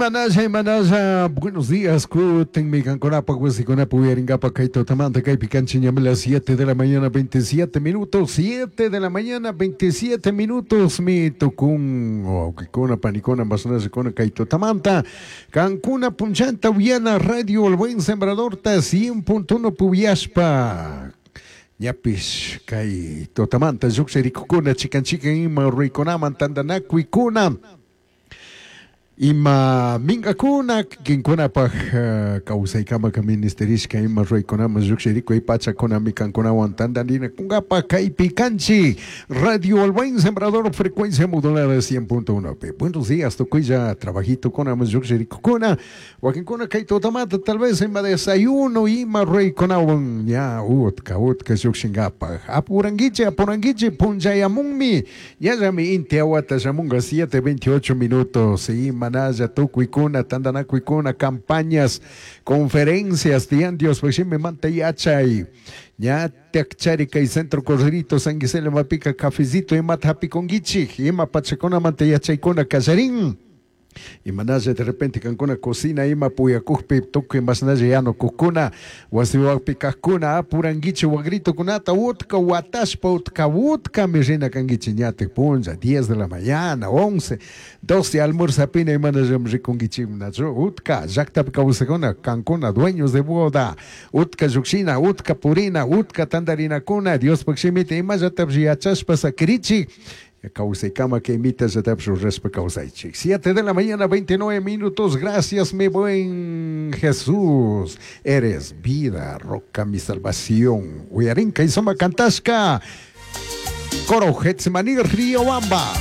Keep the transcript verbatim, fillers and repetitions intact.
Imanalla, imanalla, buenos días, kutin kankunapa wasikunapa uyaringapa kay tutamanta kaypi kanchik ñami las siete de la mañana veintisiete minutos, siete de la mañana veintisiete minutos mi tukun wawqikuna panikuna masnallikuna kay tutamanta kankuna punchanta uyana Radio El Buen Sembradorta cien punto uno puyashpa ñapish kay tutamanta lluqshirikukuna chikan chikan ima ruraykunaman tantanakuykuna ima minkakuna kikinkunapaj uh, kawsaykamaka ministerishka ima ruraykunaman lluqshirikuy pachakunami kankunawan tantarinakunkapa kaypi kanchik Radio El Buen Sembrador frecuencia modulada cien punto uno P. Buenos días tukuylla trabajitukunaman lluqshirikukuna wakinkuna kay tutamanta tal vez ima desayuno ima ruraykunawan ña utka utka lluqshinkapaj apurankichik apurankichik punchayamunmi ñallami inti awata shamunka siete veintiocho minutos ima manalla tukuykuna tantanakuykuna campañas conferencias tiyan Diospaj shimimanta yachay ña takchari kay centro Corderito San Gisela mapika cafecito imata hapikunkichik ima pachakunamanta yachaykuna kallarin imanalla de repente kankuna cocina ima puyakukpi tukuy masnalla yanukukuna wasiwakpi kajkuna apurankichik wagritukunata utka watashpa utka utkami rina kankichik ñatik punlla diez de la mañana once doce almuerzapina imanallami rikunkichik nachu utka llaktapi kawsakuna kankuna dueños de boda utka llukshina utka purina utka tantarinakuna Diospaj shimita imallatapish yachashpa sakirichik kawsaykama kay mitallatapish rurashpa kawsaychik. siete de la mañana veintinueve minutos. Gracias mi buen Jesús, eres vida, roca, mi salvación. Uyarinka y soma cantashka coro Getsemaní Riobamba.